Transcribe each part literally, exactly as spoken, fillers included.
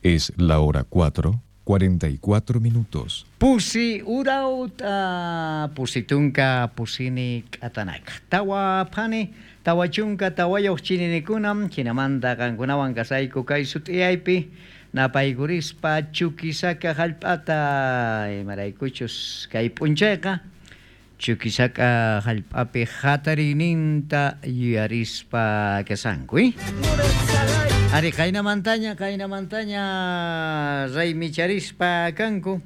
Es la hora cuatro, cuarenta y cuatro minutos. Pusi urauta, pusitunka, pusini k'atanaka. Tawa phani, tawa chunka, tawayuq chininikunam, hinamanta qankunawan kasayku kay sut'iyaypi, napaykurispa Chuquisaca hallp'ata, imaraykuchus kay p'unchayqa, Chuquisaca hallp'api hatariyninta yuyarispa kasanku, eh? Ari, qaynamantaña, qaynamantaña raymicharispa kanku,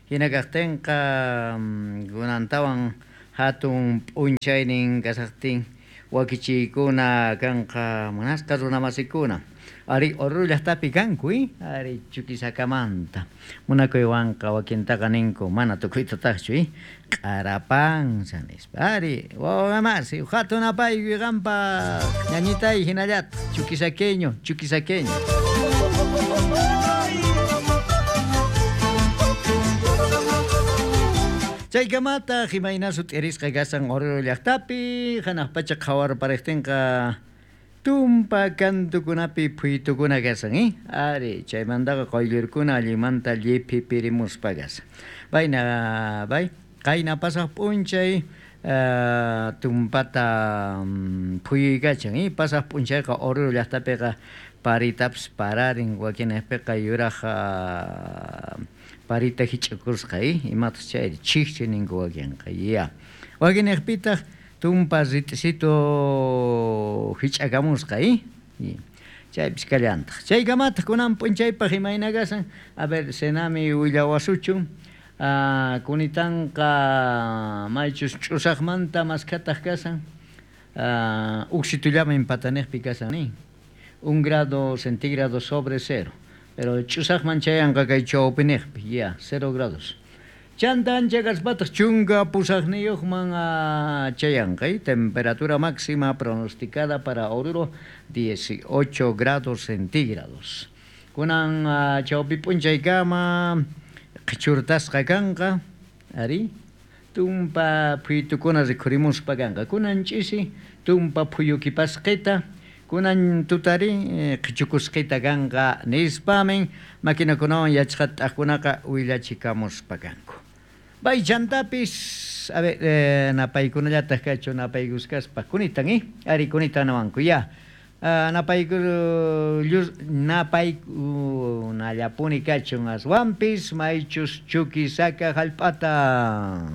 hina kaqtinqa, kunantawan hatun p'unchaynin kasaqtin wakichiykuna kanqa munasqa runamasikuna. Ari, Oruro llaqtapi kanku, eh? Ari, Chuquisacamanta. Munakuywanqa wakintaqa ninku, mana tukuytataqchu, eh? Q'arapansa nispa. Ari, wawamasi, hatun apaykuy qanpaq, ñañitay hinallataq, chuquisaqueño, chuquisaqueño. Chaykamataq imayna sut'irisqa kasan Oruro llaqtapi, hanaq pacha qhawarpariqtinqa tumpa kantukunapi phuytukuna kasan, eh? Ari, chaymantaqa quyllurkuna allinmanta lliphipirimuspa kasan. Bayna, bay, qayna pasaq p'unchay, eh, tumpata, mm, phuyuykachan, eh? Pasaq p'unchayqa Oruro llaqtapiqa paritapas pararin, wakinpiqa yuraq, ah, parita hich'akusqa, eh? Imataq chayri, chikchi ninku wakinqa, ya. Wakinpiqtaq tumpa rit'isitu hich'akamusqa, eh? Chaypis kallantaq. Chaykamataq kunan p'unchaypaq imayna kasan? A ver, Senami willawasuchun. Ah, kunitanqa maychus ch'usaqmanta maskhataq kasan. Ah, uksitullamin pataniqpi kasan, eh? Un grado centígrado sobre cero. Pero ch'usaqman chayanqa kay chawpiniqpi, ya, cero grados. Chanta ancha kaspataq chunka pusaqniyuqman, ah, chayanqa, eh? Temperatura máxima pronosticada para Oruro, dieciocho grados centígrados. Kunan, ah, chawpi p'unchaykama qhichurtasqa kanqa, ari, tumpa phuytukuna rikhurimuspa kanqa. Kunan ch'isi tumpa phuyukipasqita, kunan tutari, eh, qhichukusqita kanqa nispamin maquinakunawan yachqat'aqkunaqa willachikamuspa kanku. Bay chantapis, a ver, eh, napaykunallataq kachu napaykuskaspa, kunitan, eh? Ari, kunitan nawanku, ya. Ah, napayku, llus, napaykunallapuni kachun aswanpis maychus Chuquisaca hallp'ata.